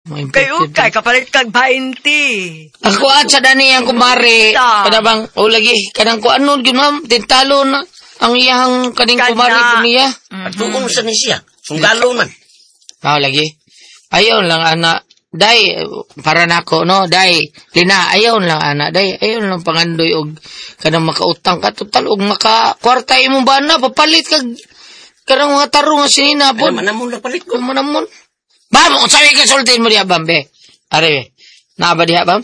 Mga Kay imported. ukay, kapalit kag 20. Ang kuan sa dani ang kumare. Ta. Kada bang, o lagi, kanang kuan nun, yun ma'am, tintalo na. Ang iyang kaning Kana. kumare ko niya. At tuong sa ni siya. Sundalo man. Mao lagi. Ayaw lang, ana. Day, para nako, no? Day, Lina, ayaw lang, ana. Day, ayaw lang pangandoy og kanang makautang ka. Total, og maka kwarta imong bana, papalit kag kanang mga tarong nga sinina po. Ano man namon na palit ko. Kung mo namon. Bam, unsa may kasultin mo diha, Bam, be? Are, be. Naa ba diha, Bam?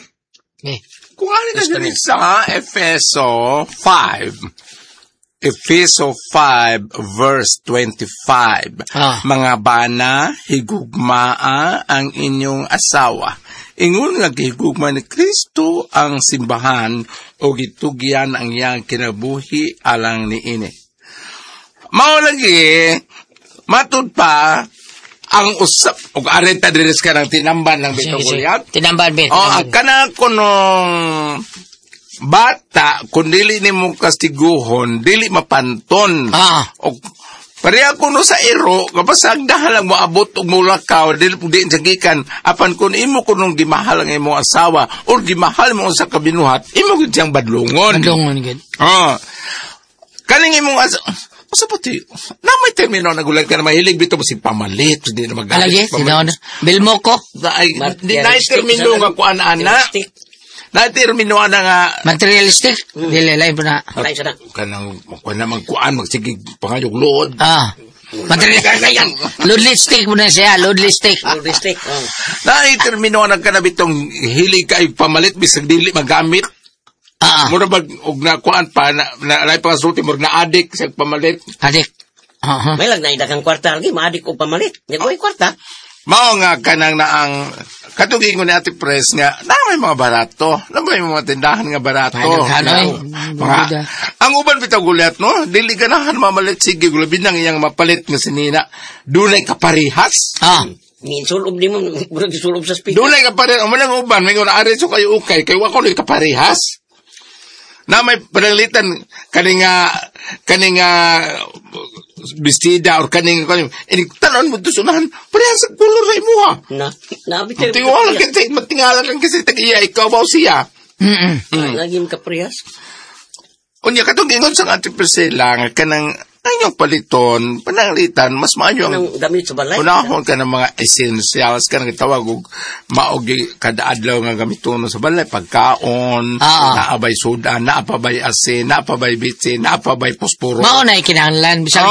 Be. Kung ano na diri sa Efeso 5. Efeso 5 verse 25. "Mga bana, higugmaa ang inyong asawa. Ingon nga gihigugma ni Kristo ang simbahan o gitugyan ang iyang kinabuhi alang niini." Mao lagi matud pa ang usap og areta diri sa kanang tinamban lang bitaw, Goliath. Tinamban, be. Oh, ang Tinamban. kana kunong bata kung dili nimo kastiguhon, dili mapanton. O pareha kuno sa iro, kapasag lang moabot og mulakaw, dili di sa gikan apan kun imo kunong gimahal ang imong asawa or gimahal mo sa kabinuhat, imo gid siyang badlongon. Badlongon gid. Oh. Kaning imong asa Usa pa ti, na may termino na gulat ka na mahilig bitaw si pamalit, di na magalit. Alagi, pamalit. sino na? Bilmoko. Ay, di na termino nga kuan ana. Na termino ana nga Materialistic. Dili, lain po na. Lain sa na. Kanang kuan na magkuan magsige pangayog luod. Material. Loadlistic mo na siya, loadlistic. Logistic. Oh. Na termino ana kana bitong hilig kay pamalit bisag dili magamit. Mura bag og na kuan pa na, na lain pa sulti murag na adik sa pamalit. Adik. Aha. May lang na kang kwarta lagi, maadik og pamalit. Nya kwarta. Mao nga kanang naang katugin ko ni Ate Pres nga na may mga barato, na may mga tindahan nga barato. Ay, daghan, oy. Mga, ang uban bitaw gulat no, dili ganahan mamalit sige labi nang iyang mapalit nga sinina. Dunay kaparehas. Ni sulob ni mo, murag sulob sa speaker. Dunay kaparehas. Amo nang uban may ngon ari so kayo ukay kay wa ko ni kaparehas. Na may pananglitan kani nga bestida or kaning kaning ini tanon mo to sunahan parehas sa kolor sa imuha. Na, na bitaw. Tingwala kasi matingala kang kasi tag iya ikaw ba o siya. Lagi mo kaparehas. Unya katong ingon sa Ate Priscilla nga kanang ang inyong paliton, pananglitan mas maayo ang Kanang gamit sa balay. unahon ka ng mga essentials kanang gitawag og maogi kada adlaw nga gamiton sa balay, pagkaon, naabay sudan, naapabay asin, naapabay bitsin, naapabay posporo. Mao na ikinahanglan bisag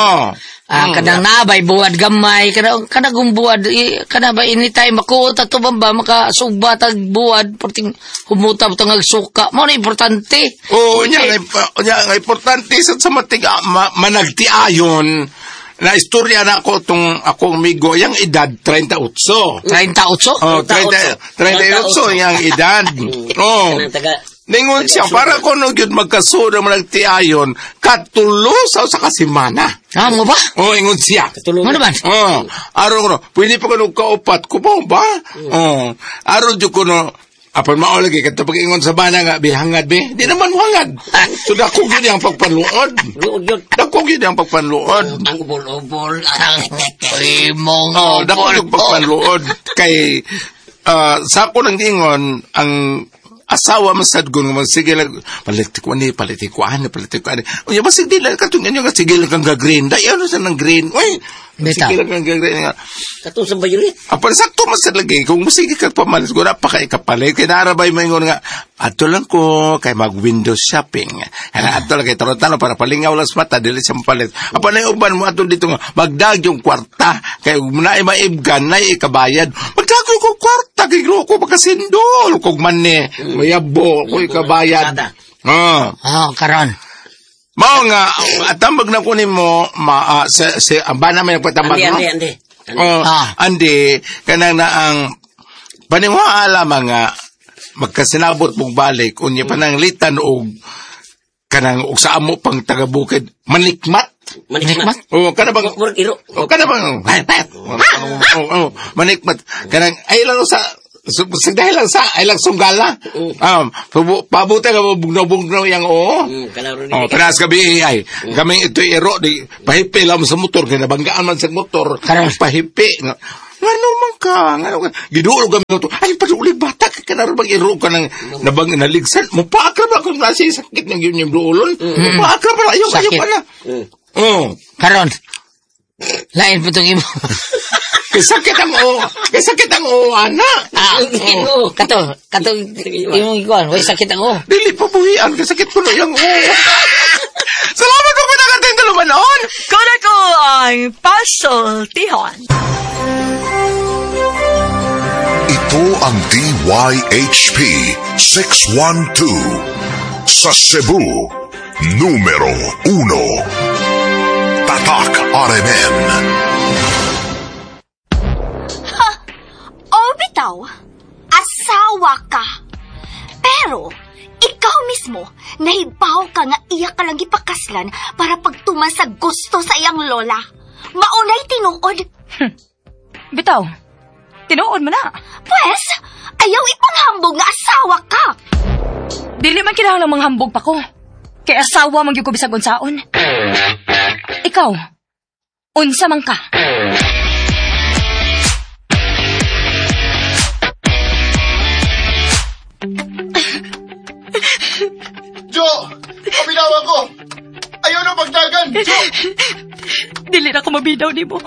kanang naabay buwad gamay, kana kana kung buwad kana ba anytime makuot ato ba ba makasugba tag buwad perting humuta tang suka, mao na importante. Oo, nya nga importante sa matiga managtiayon na istorya na ako tong akong amigo yang edad 38. 38? Oh, 30, 38 yang edad. Oh. Kanang taga Ningon siya, para ko no gyud magkasuod ang managtiayon, katulo sa usa ka semana. Ah, mo ba? Oh, ingon siya. Katulo. Mo naman? Oh, aron ko no, pwede pa kuno kaupat ko ba ba? Oh, aron jud ko no, apan mao lagi kadto pag ingon sa bana nga bihangad be, di naman mo hangad. So dako gyud ang pagpanluod. Luod yun. Dako gyud ang pagpanluod. Ang ubol-ubol. Imong Oh, dako yung pagpanluod kay sa ako nang ingon ang asawa masad ko nga sige lang palit ko ani, palit ko ani, palit ko ani. Unya basig di lang katong inyo nga sige lang kang ga-green dai ano sa nang green, uy. Bitaw. Sige lang kang ga-green nga. Katong sa violet. Apan sakto masad lagi kung sige ka pamalit ko na pa kay kapalit kay narabay mo ingon nga adto lang ko kay mag window shopping. Ana adto lang kay tano para palingaw lang sa mata dili siya mapalit. Apan ay uban mo adto dito nga magdag yung kwarta kay naay maibgan naay ikabayad. Magdag ko kwarta kay ko makasindol kog manne mayabo ko ikabayad. Ah. Ah, karon. Mao nga atambag na ko nimo ma sa, sa ang bana may nagpatambag Andi, no? andi, andi. Andi. Oh, andi kanang na ang paniwala mga magkasinabot mong balik unya pananglitan og kanang og sa amo pang taga-bukid manikmat. Manikmat. Oh, kana bang Murag iro. Oh, kana bang oh, oh, manikmat kanang ay lang sa dahil lang sa ay lang sunggala. Pabuti ka bugnaw-bugnaw yang oo. Kalaro ni. Oh, tanas gabi ay. Kami ito iro di pahipi lang sa motor kay nabanggaan man sa motor. Karon. Pahipi. Ngano man ka? Ngano ka? Giduol ka minuto. Ay, paduli bata ka kanaro bang iro ka ng nabang naligsan. Mupaakra ba kung nasa sakit ng yun yung duolon? Mupaakra ba? Ayaw, ayaw pa na. Oh. Karon. Lain po itong imo. Kasakit ang o. Kasakit ang o, ana. Ah, oh. Kato, imong ikuan. Way sakit ang o. Dili pa buhian. Kasakit ko na yung o. Salamat po pinagating talumanon. Kuna ko ang pasultihon. Ito ang DYHP 612 sa Cebu, numero 1. Tatak RMN. Ha! O bitaw, asawa ka. Pero, ikaw mismo, nahibaw ka nga iya ka lang ipakaslan para pagtuman sa gusto sa iyang lola. Maunay tinuod. Bitaw, tinuod mo na. Pwes, ayaw ipanghambog nga asawa ka. Dili man kinahanglang manghambog pa ko. Kay asawa man gyud ko bisag unsaon. Ikaw, unsa man ka? Jo! Pabinawan ko! Ayaw na pagdagan! Jo! Dili na ko mabidaw nimo.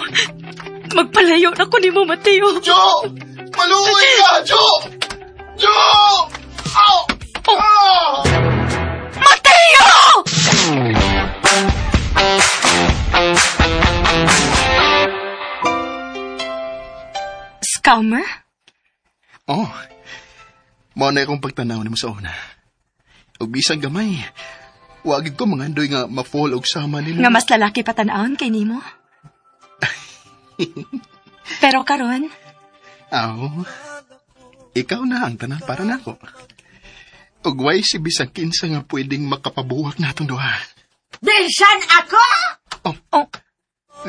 Magpalayo na ko nimo, Mateo. Jo! Maluoy ka! Jo! Jo! Ow! Oh. Ah! Mateo! Scammer? Oh. Mao na akong pagtanaw nimo sa una. Ug bisan gamay, wagid ko mangandoy nga ma-fall og sama nimo. Nga mas lalaki pa tan-awon kay nimo. Pero karon, aw, ikaw na ang tanan para nako. Ug way si bisan kinsa nga pwedeng makapabuwak natong duha. Bisan ako! Oh. Oh.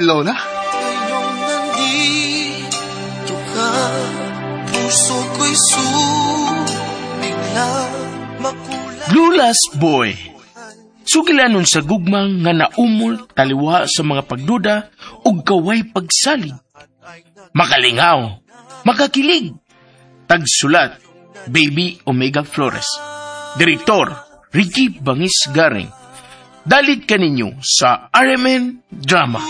Lola? Ngayong nandito ka, puso ko'y sumigla, makulay. Lula's Boy. Sugilanon sa gugmang nga naumol taliwa sa mga pagduda ug kaway pagsalig. Makalingaw, makakilig. Tagsulat, Baby Omega Flores. Direktor, Ricky Bangis Garing. Dalit kaninyo sa RMN Drama.